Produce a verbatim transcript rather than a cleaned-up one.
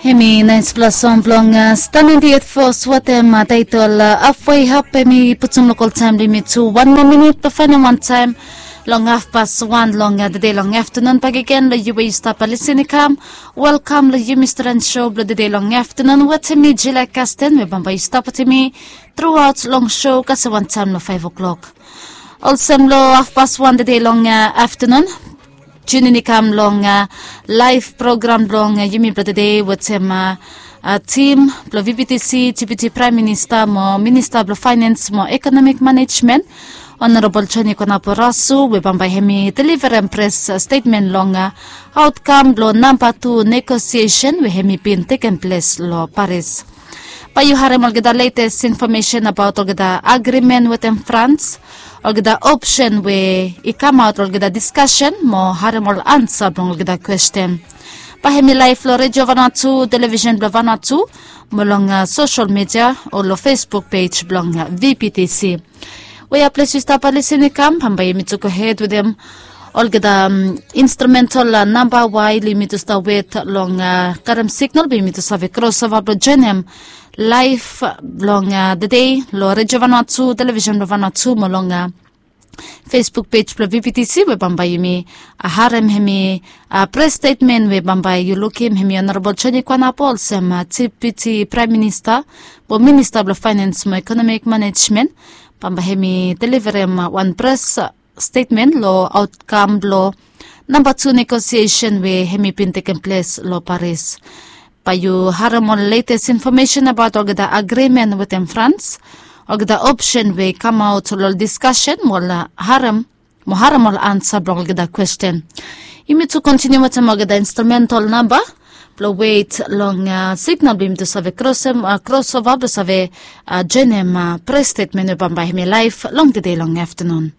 Hemi nainspela song blong Stan nainti et fos watem taitol Afwei Hap. Hemi putum lokol taem blong yumi tu wan moa minit blong faenem wantaem long hafpas wan long tede long aftanun. Bakegen long yu we yu stap lisin i kam, welkam long yumi stren sho blong tede long aftanun wetem mi, Jila Kasten, we bambae yu stap wetem mi truaot long sho kasem wantaem long faef o'klok. Olsem long hafpas wan tede long aftanun, tunin i kam long laef program blong yumi blong tede wetem tim blong VPTC, Deputi Praem Minista mo Minista blong Faenens mo Ekonomik Manejmen, Honorabol Joni Konapo Rasu, we bambae hemi deliverem pres stetmen long aotkam blong namba tu negosiesen we hemi bin tekem ples long Paris. Bae yu harem olgeta letes infomesen abaot olgeta agrimen wetem Frans, olgeta opsen we i kamaot long olgeta diskasen mo harem ol ansa blong olgeta kwesten. Bae hemi laef long Redio Vanuatu, Televisen blong Vanuatu, mo long sosel media o long Facebook pej blong VPTC. Wea ples yu stap lisin i kam, bambae yumi tu gohed wetem olgeta instrumental namba wael yumi tu stap wet long karem signal blong yumi tu save krosova blong joenem laef blong tede long Redio Vanuatu, Televisen blong Vanuatu mo long Facebook pej blong VPTC, we bambae yumi harem hemi pres stetmen we bambae yu lukim hemi Honorabol Joni Konapo olsem Deputi Praem Minista mo Minista blong Faenens mo Ekonomik Manejmen. Bambae hemi deliverem wan pres stetmen long aotkam blong namba tu negosiesen we hemi bin tekem ples long Paris. Bae yu harem ol letes infomesen abaot olgeta agrimen wetem Frans, olgeta opsen we i kamaot long ol diskasen mo harem mo harem ol ansa blong olgeta kwesten. Yumi tu kontiniu wetem olgeta instrumental namba blong wet long signal blong yumi tu save krosova blong save joenem pres stetmen we bambae hemi laef long tede long aftanun.